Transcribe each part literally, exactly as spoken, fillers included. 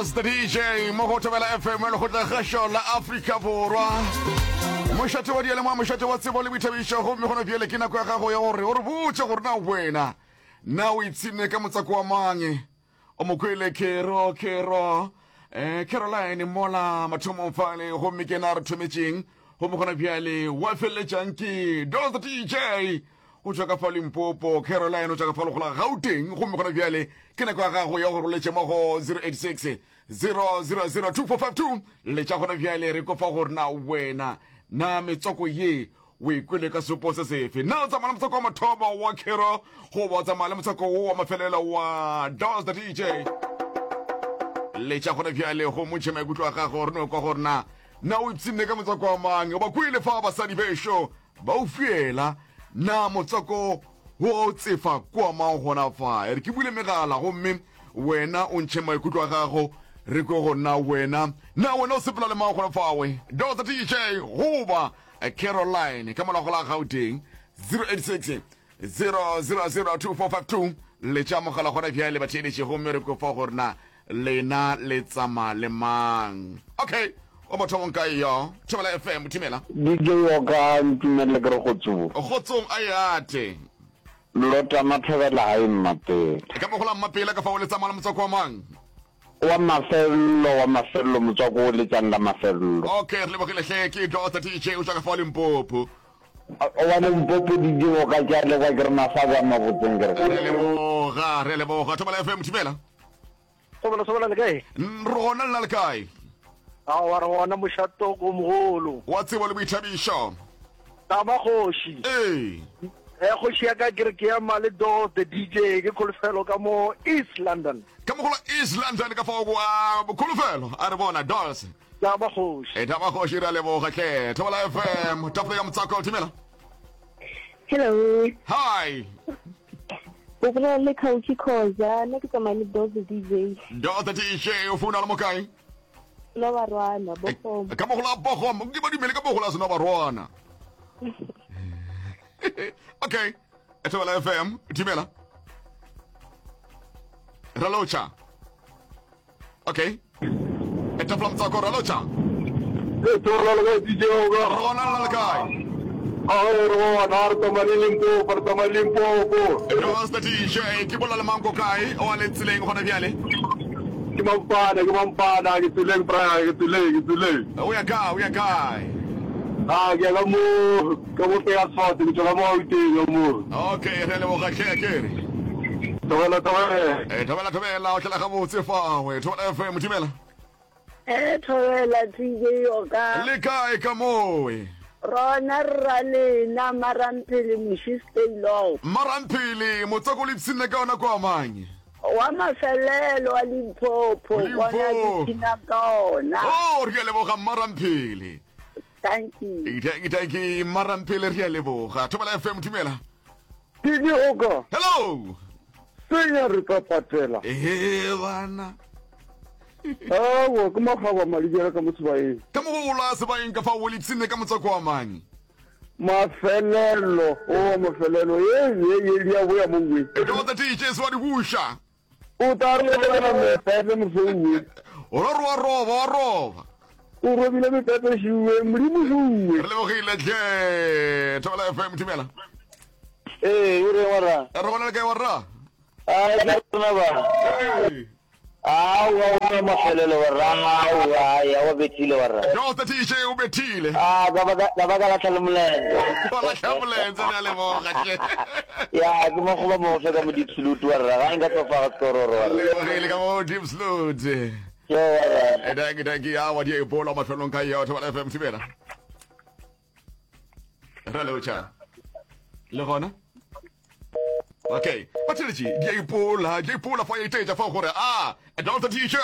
Dos the D J mo go Thobela F M, lekgotlakgašo la Afrika Borwa, mošate wa dialemoa, mošate wa tsebo le boithabišo. Gomme gona bjale ke nako ya gago ya gore o re botše gore na wena na o ipshine ka motswako wa mang. O mo kwele Kero Kero eh, Caroline mola mathomong fale, gomme ke na re thometšeng. Gomme gona bjale wa feleletšang ke Dos the D J o tšwa ka fa Limpopo, Caroline o tšwa ka fa legola Gauteng. Gomme gona bjale ke nako ya gago ya gore o letše mo go zero eight six zero zero zero two four five two. Letša gona bjale re kofa gore na wena na metswako ye o e kwele ka sepo se sefe. Na o tsamaya le motswako wa mathomo wa Kero, goba o tsamaya le motswako wo wa mafelelo wa Dos the D J? Letša gona bjale go motšhe maikutlo a gago, re no kwa gore na na o ipshinne ka motswako wa mang. O ba kwele fa basadi bešo ba o fiela, na motswako wo o tsefa kwa mang gona fa? E re ke bule megala gomme wena o ntšhe maikutlo a gago, re kwe go na wena na wena o sepela le mang gona fawe, Dos the D J goba Caroline ka morago la Gauteng. zero eight six zero zero zero two four five two, letša mogala gona bjale batheeletše, gomme re kofa gore na lena le tsama le mang. Okay, o mathomong kae yo? Thobela F M, thimela. D J Oka, ntumelele ke re kgotsong. Kgotsong a yate. Lota Mathobela gae Mmapela. Ka mogola Mmapela ka fa, o le tsamaya le motswako wa mang? Wa mafello, wa mafello, motswako o letsang la mafello. Okay, re lebogile hle. Ke Dota D J o tšwa ka fa Limpopo. Wa Limpopo, D J Oka, ke a leboga, ke re mafabe a mabotseng ke re. Re leboga, re leboga. Thobela F M, thibela. Sobela, sobela, le kae? Re gona, lena le kae? Aowa, re gona, mošato o mogolo. Wa tsebo le boithabišo. Tama kgoši. Ee. E kgoši ya ka, ke re ke ema le Do the D J, ke Kholofelo ka mo East London. Ka mogola East London ka fao wa Kholofelo, a re bona Dos. Tama kgoši. E tama kgoši, re a leboga hle. Thobela F M, tafole ya motswako, thimela. Hello. Hi. O bolela le Kauki Khoza, nna ke tsamaya le Dos the D J. Do the D J, o founa le mo kae? La Barwana, Bogom. Ka mogola Bogom, ke ba dumele ka mogola sena Barwana. Okay, Thobela F M, thimela. Ralotšha. Okay, e tafula motswako, ralotšha. E thobela, le kae D J Oka? Re gona, lena le kae? A re gona, re tsamaya le Limpopo, re tsamaya le Limpopo. Dos the D J, ke bolela le manko kae o a le tseleng gona bjale? Ke mampana, ke mampana, ke tseleng bra, ke tseleng, ke tseleng. O ya kae, o ya kae? Ah, ke ya ka mo ka mo Petersfort, ke tswa ka mo Gauteng ka mo. Okay, re leboga hle, ke re Thobela, thobela. E thobela, thobela, o hlela gabotse fawe. Thobela F M, thibela. E thobela D J Oka. Le kae ka moe? Rona rra lena Maramphele Moši stay low. Maramphele, motswako le ipshinne ka yona kwa mang? Wa mafelelo wa Limpopo, bona. Limpopo. Ke phina ka ona. Oh, re a leboga Maramphele. Thank you. Thank you, thank you Maramphele, re a leboga. Thobela F M, thumela. D J Oka. Hello. Senya re tla patela. Ee bana. Awa, ke magaba madijela ka mo sebaeng. Ka mogola sebaeng ka fa, o le ipshinne ka motswako wa mang? Mafelelo, o mafelelo, ye ye ye di a boya mo we. Dota D J se wa di buša. O tla re lebelela mepepe mosouwe. O ro re wa roba, wa roba. O robile mepepe šiwe, modimo šiwe. Re lebogile hle. Thobela F M, thumela. Ee, o reng warra? Re gona, le kae warra? A ke rona ba. Ee. Aowa, o na mafelelo warra, aowa, ya wa bethile warra. Dota D J o bethile. Ah, ka ba ka ba ka lahla le molenze. Wa lahla molenze, re a leboga hle. Ya, ke mo goba mo fe ka mo Diepsloot warra, ga nka tlofa ga skororo warra. Lebogile ka mo Diepsloot. Yo warra. E danki, danki, ya wa di ipola mafelong ka yo. Thobela F M, thibela. Re lotšha le gona. Okay, batheletši, di a ipola, di a ipola fa ya itetša fa gore a Dolce D J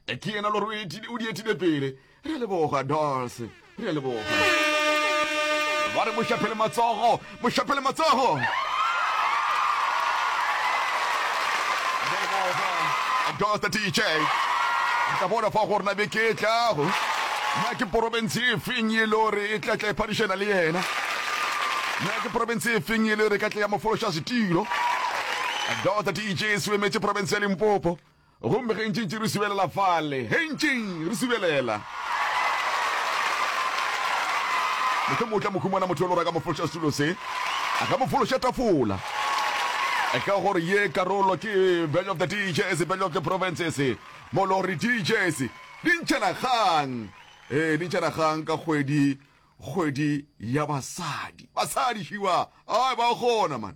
ke yena le gore o di etile pele. Re a leboga Dolce, re a leboga. Ba re mošaphele matsogo, mošaphele matsogo. Dolce D J, tla bona fa gore na beke e tlago na ke porofense e feng e le gore e tla tla e phadišana le yena, na ke porofense e feng e le gore e ka tla ya mo fološa setilo. Dota D J se emetse porofense ya Limpopo. Gomme ge ntšintši re subelela fale, ge ntšing re subelela. Mohlomongwe o tla mo humana motho yo le gore a ka mo fološa setulo se, a ka mo fološa tafola. Ka gore ye karolo ke Battle of the DJs, Battle of the Provinces, mo le gore DJs di ntšhana kgang, ee, di ntšhana kgang ka kgwedi, kgwedi ya basadi. Basadi šiwa, ai ba kgona man.